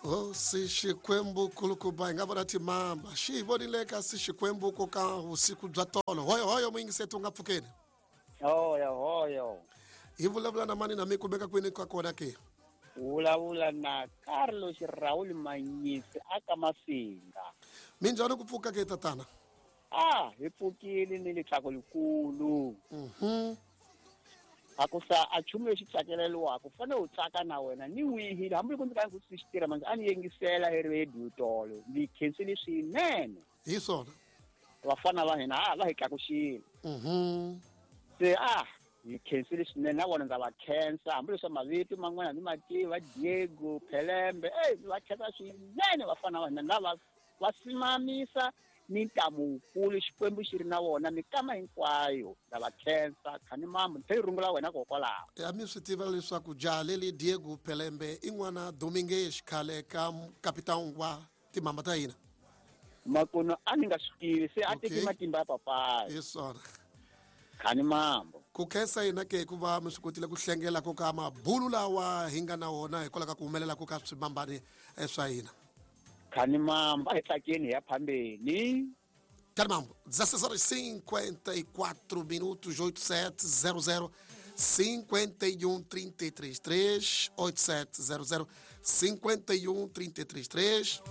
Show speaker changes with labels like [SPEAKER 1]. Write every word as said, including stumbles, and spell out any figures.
[SPEAKER 1] Hosi Xikwembu kulukumba, hi nga vona timamba xi hi vonile kasi Xikwembu ku ka vusiku bya tolo. Hoyo hoyo muyingiseti u nga pfukeni.
[SPEAKER 2] Hoyo hoyo.
[SPEAKER 1] Hi vulavula na mani na mi kumeka kwini ka kona ke?
[SPEAKER 2] Vulavula na Carlos Raul Manyisi aka Masinga.
[SPEAKER 1] Minjhani ku pfuka ke tatana?
[SPEAKER 2] Ah, hi pfukile ni litsako likulu.
[SPEAKER 1] Mhm.
[SPEAKER 2] A ku sa a chumu lexi tsakeleriwaka u fanele u tsaka na wena ni wihile hambi ku ndzi ka ndzi swi tirha manje a ni yingisela hi radio tolo ni khensile swinene.
[SPEAKER 1] Hi swona.
[SPEAKER 2] Vafana va hina a va hi tlakuxile.
[SPEAKER 1] Mhm.
[SPEAKER 2] Se ah hi khensile swinene na vona ndza va khensa hambileswi mavito man'wana ni ma tiva Diego Pelembe ey va khensa swinene vafana va hina lava va simamisa ni ntamu wukulu Xikwembu xi ri na vona mikama hinkwayo ndza va khensa khani mambo ni rungula wena kokwalaho.
[SPEAKER 1] Ya mi swi tiva leswaku jaha leli Diego Pelembe i n'wana Domingues khale ka kapitani wa timhamba ta hina.
[SPEAKER 2] Makuno a ni nga swi tivi se a
[SPEAKER 1] Okay.
[SPEAKER 2] teki matimba ya papayi.
[SPEAKER 1] Hi swona.
[SPEAKER 2] Khani mambo.
[SPEAKER 1] Ku khensa hina ke hikuva mi swi kotile ku hlengela ku ka mabulu lawa hi nga na wona hikwalaho ka ku humelela ku ka swimambani swa hina.
[SPEAKER 2] Khani mambo a hi tsakeni hi ya phambeni.
[SPEAKER 1] Khani mambo, dezesseis horas e cinquenta e quatro minutos, oito sete zero zero cinquenta e um trinta e três três, oito sete zero zero cinquenta e um trinta e três três.